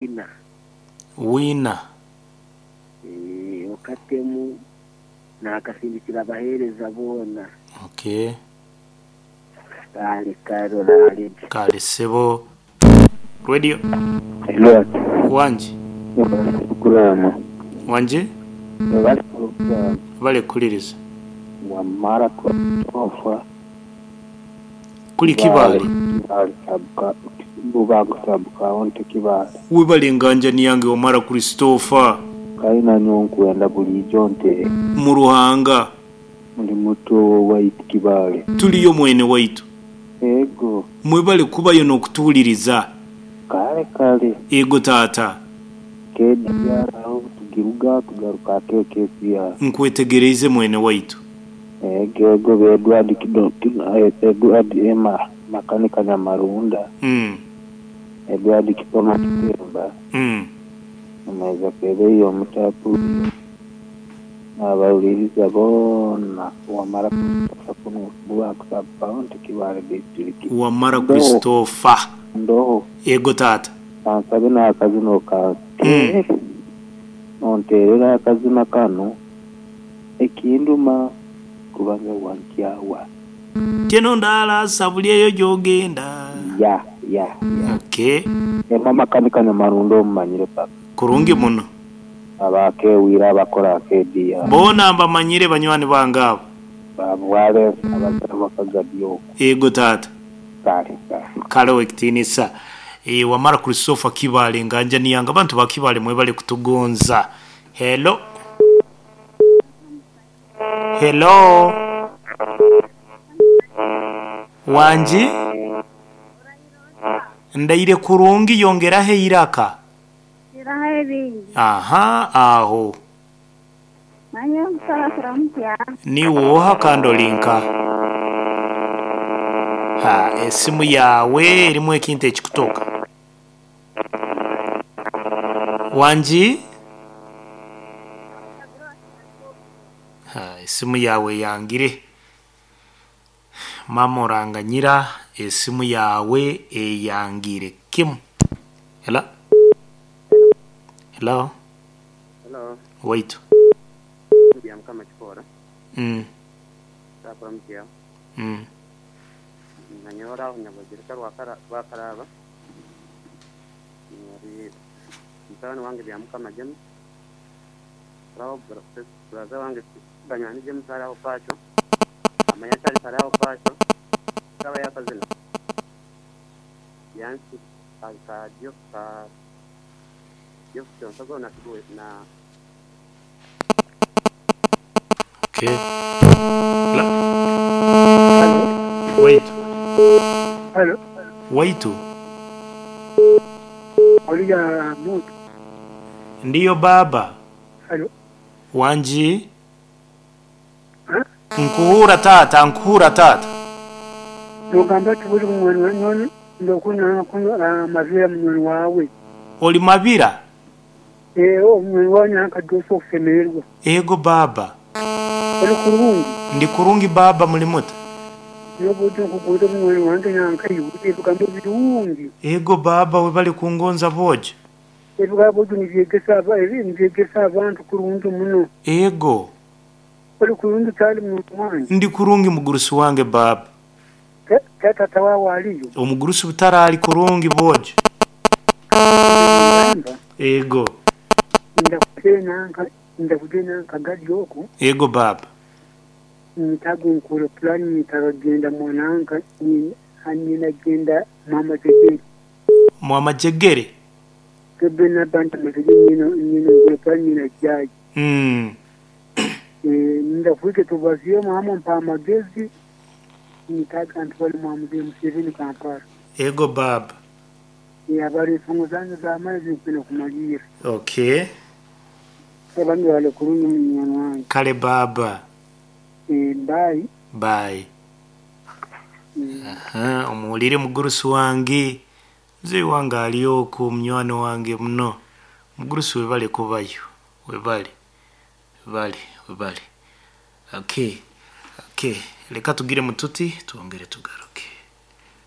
Wina. Wina. Eeh okatemu naakasindikira abaheereza boona. Okay. Kale kale oraare gye. Kale ssebo. Radio. Hello. Wangi. Webale pulogulaamu. Wangi? Webale pulogulaamu. Webale kuwuliriza. Wamara Christopher. Kuli Kibaale. Kibaale sub Bubango sub county Kibaale. Webale enganjani yange Wamara Christopher. Kale nanyowe nkwenda buliijo ntere. Mu Ruhanga. Ndi muto waitu Kibaale. Tuliyo mwene waitu. Ego. Mwebale kubayo nokutuwuliriza. Kale kale. Ego taata. KDR aho tugiruga tugaruka ake KCR. Nkwetegereize mwene waitu. Ego ego be Edward Kido Edward Emma makanika Nyamarunda. Edward Kikoma Kitemba. Amaiza Kebeyo Omutapu nabahuliriza boona Wamara Christopher kunu Bubango sub county Kibaale district. Wamara Christopher. Ndoho. Ego taata. Kansabe n'akazina okanteerere. Onteerere akazina kanu, Ekinduma kubanga wankyawa. Teno ndala buli eyo gy'ogenda. Ya, ya, ya. Okay. Emma Makanika Nyamarunda omumanyire paka. Kurungi muno. Abakewira abakora akedia. Boona mbamanyire banywani bange abo. Babwale abazira bakagadi okwo. Ego taata. Kale kale. Kale owekitiinisa. Eeh Wamala Christopher Kibaale nganja niyange abantu ba Kibaale mwebale kutugonza. Hello. Hello. Wangi? Ndaire kurungi yongeraho eiraka. Iraho ebingi. Aha aho. Manya omusaasira mutya? Niiwe oha kandi ori nkaha? Ha, esimu yaawe erimu ekintu ekikutoka. Wangi? Ha, esimu yaawe eyangire. Maama oranganyira esimu yaawe eyangire kimu. Hello? Hello? Hello. Waitu. Bya Mukama kikora. Takora mutya. Nanyora aho Nyabagirika Rwakaraba. Nyari mutabani wange bya Mukama James. Raho brother wange Banywani James ari aho Pacho. Amanya Charles ari aho Pacho. Kaba yakazina. Yansi ka Jeff ka Jeff Kyonsago na na Okay. Hello? Waitu. Halo, Waitu. Oliya Mutu. Ndiyo baba. Halo. Wangi? Ha? Nkuhura taata, nkuhura taata. Nogamba ati buli munywani nyowe ndokunywa kunywa amabira munywani wawe. Oli mabira? Eh, omunywani wawe nankadosa okusemererwa. Ego baba. Oli kurungi. Ndi kurungi baba muli muta? Nobudde nkuguza omunywani wange nankaiwe ebigambo birungi. Ego baba webale kungonza bwojo. Ebigambo byo nibyegesa nibyegesa abantu kurungi muno. Ego. Oli kurungi kyali munywani wange. Ndi kurungi mugurusi wange baba. Tata wawe aliyo. Omugurusi butaraali kurungi bwojo. Ngamba Ego. ndakutena ndakutena nkagadi oku. Ego baba. Nitago nkora pulani nitagenda mwananka ninagenda mwamajegere. Mwamajegere? Kebe nabanta majegere nina nina nkora pulani nina jaji. Ndafuike tubazie mwamo mpa amagezi nitaga ntwale mwamuze Museveni Kampala. Ego baba. Abari enfungo zange z'amaizi nkwine kumalira. Okay. Abandi bale kurungi munywani wange. Kale baba. Bye. Bye. Aha, omuwulire mugurusi wange. Muzeeyi wange ali okwo munywani wange muno. Mugurusi webale kubayo. Webale. Webale, webale. Okay. Okay. Leka tugire mututi twongere tugaruke.